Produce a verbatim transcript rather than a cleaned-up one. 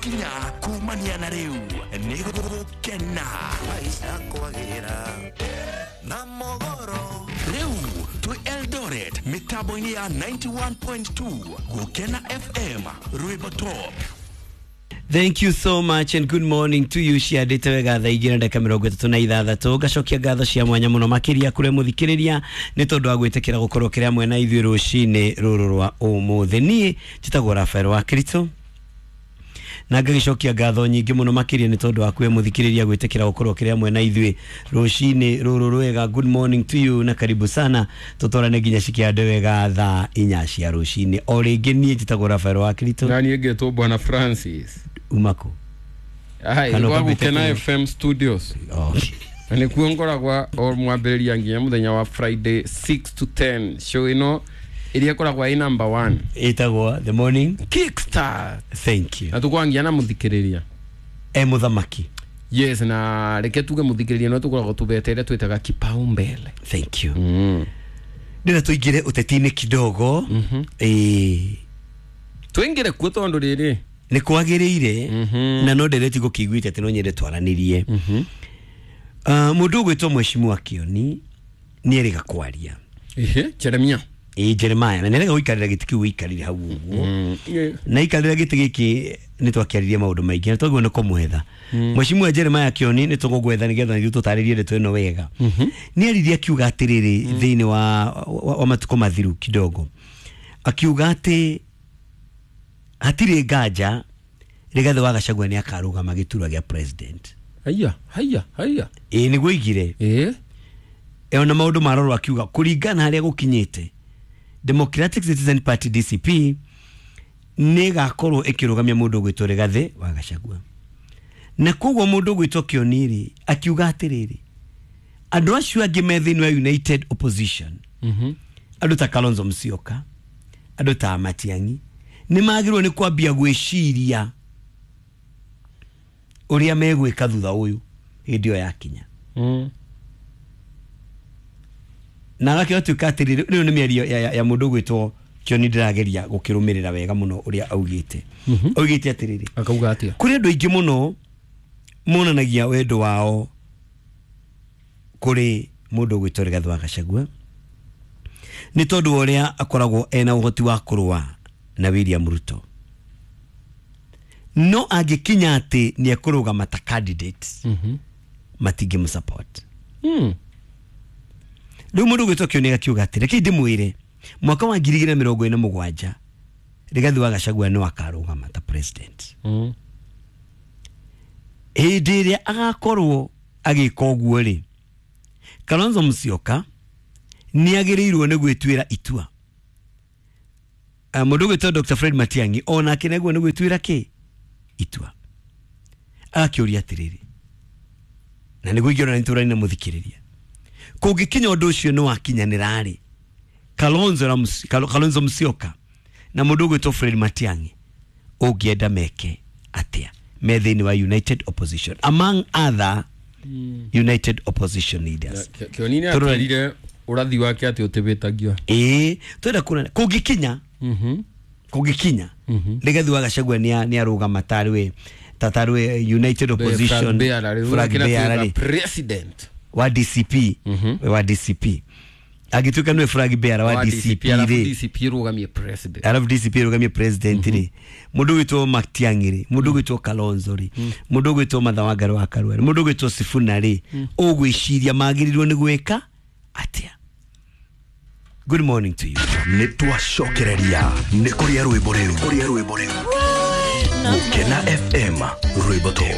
Kinya kumania na riu ni gukena maisha kwagira na mogoro riu twi Eldoret mitambo-ini ya ninety-one point two Gukena F M Rwimbo Top. Thank you so much and good morning to you. Ciandĩte wega thaa igĩrĩ na ndagĩka mĩrongo ĩtatũ na ithathatũ. Ngacokia ngatho cia mwanya mũno makĩria kũrĩ mũthikĩrĩria nĩ tondũ wa gwĩtĩkĩra gũkorwo kĩrĩa hamwe na ithuĩ rũcinĩ rũrũ rwa ũmũthĩ. Niĩ njĩtagwo Rafael wa Kristo na ngagĩcokia ngatho nyingĩ mũno makĩria nĩ tondũ wa kwĩ mũthikĩrĩria gwĩtĩkĩra gũkorwo kĩrĩa hamwe na ithuĩ rũcinĩ rũrũ rwega. Good morning to you na karibu sana, tũtwarane nginya cikĩande wega thaa inya cia rũcinĩ. O rĩngĩ niĩ njĩtagwo Rafael wa Kristo na niĩ ngetwo Bwana Francis Umako. Ai, gwa Gukena F M Studios. Okay. Na nĩkuo ngoragwa o mwambĩrĩria nginya mũthenya wa Friday six to ten. Show ĩno iria ĩkoragwo ĩ number one. Ĩtagwo The Morning Kickstart. Thank you. Na tũkwangia na mũthikĩrĩria. E mũthamaki. Yes, na reke tuge mũthikĩrĩria no tũkoragwo tũbetere twĩtaga kipaumbele. Thank you. Mm. Ndĩra tũingĩre ũteti-inĩ kidogo. Mm-hmm. Eh, tũingĩre kuo tondũ rĩrĩ nĩ kwagĩrĩire mm-hmm. na no ndereti gũkĩiguĩte atĩ no nyende twaranĩrie. Mm-hmm. Uh, mũndũ ũgwĩtwo Mheshimiwa Kioni nĩ erĩga kwaria. Ehe, Jeremia. Ĩ Jeremiah na nĩ erĩga gũikarĩra gĩtĩ kĩu gũikarĩre hau ũguo. Mm. Na ikarĩra gĩtĩ gĩkĩ nĩ twakĩaririe maũndũ maingĩ na twagĩrĩirwo nĩ kũmwetha. Mm. Mheshimiwa Jeremiah Kioni nĩ tũgũgwetha nĩgetha ithuĩ tũtarĩrie ndeto ĩno wega. Mm-hmm. Nĩ aririe akiuga atĩrĩrĩ mm. thĩinĩ wa, wa, wa matukũ mathiru kidogo. Akiuga atĩ hatirĩ nganja Rigathi wa Gachagua nĩ akarũgama gĩturwa gĩa president. Haya, haya, haya. Ĩ nĩguo oigire. Ĩ. E ona maũndũ marorwo akiuga kũringana harĩa gũkinyĩte Democratic Citizen Party D C P nĩ ĩgakorwo ĩkĩrũgamia mũndũ ũgwĩtwo Rigathi wa Gachagua. Na koguo mũndũ ũgwĩtwo Kioni rĩ akiuga atĩrĩrĩ andũ acio angĩ me thĩinĩ wa United Opposition. Mhm. Andũ ta Kalonzo Musyoka, andũ ta Matiang'i nĩ magĩrĩirwo nĩ kwambia gwĩciria ũrĩa megwĩka thutha ũyũ hĩndĩ ĩyo yakinya. Mm. Na agakĩona atĩrĩrĩ rĩu nĩ mĩario ya, ya, ya mũndũ ũgwĩtwo Kioni ndĩrageria gũkĩrũmĩrĩra wega mũno ũrĩa augĩte. Mm-hmm. Augĩte atĩrĩrĩ akauga atĩa kũrĩ andũ aingĩ mũno monanagia wendo wao kũrĩ mũndũ ũgwĩtwo Rigathi wa Gachagua nĩ tondũ wa ũrĩa akoragwo ena ũhoti wa kũrũa na William Ruto. No angĩkinya atĩ nĩ ekũrũgama ta candidate mm-hmm. matingĩmũsupport. Mm. Rĩu mũndũ ũgwĩtwo Kioni akiuga atĩ reke ndĩmwĩre mwaka wa ngiri igĩrĩ na mĩrongo ĩna na mũgwanja Rigathi wa Gachagua no akarũgama ta president. Mm. Hĩndĩ ĩrĩa agakorwo agĩka ũguo rĩ Kalonzo Musyoka nĩ agĩrĩirwo nĩ gwĩtuĩra itua. Uh, mũndũ ũgwĩtwo Doctor Fred Matiang'i onake nĩguo nĩ gwĩtuĩra kĩ itua. Agakĩũria atĩrĩrĩ na nĩguo ingĩona nĩ tũraine mũthikĩrĩria kũngĩkinya ũndũ ũcio nĩ wakinyanĩra rĩ Kalonzo na Mus- Kalonzo Musyoka na mũndũ ũgwĩtwo Fred Matiang'i ũngĩenda meke atĩa me thĩinĩ wa United Opposition among other mm. United Opposition leaders. Kioni nĩ atwĩrire ũrathi wake atĩ ũtĩbĩtagio. Ĩ twenda kuona kũngĩkinya mhm kũngĩkinya mm-hmm. Rigathi wa Gachagua nĩ nĩ arũgama tarĩ tatarĩ United Opposition flag bearer president wa D C P. Mm-hmm. Wa D C P agĩtuĩka nĩwe flag bearer wa D C P rĩ D C P rũgamie president alafu D C P rũgamie president rĩ mũndũ ũgwĩtwo Matiang'i rĩ mũndũ ũgwĩtwo Kalonzo rĩ mũndũ ũgwĩtwo Martha Wangari wa Karua rĩ mũndũ ũgwĩtwo Sifuna rĩ ũgwĩciria magĩrĩirwo nĩ gwĩka atĩa? Good morning to you. Nĩ twacokereria nĩ kũrĩa rwĩmbo rĩu kũrĩa rwĩmbo rĩu Gukena F M Rwimbo Top.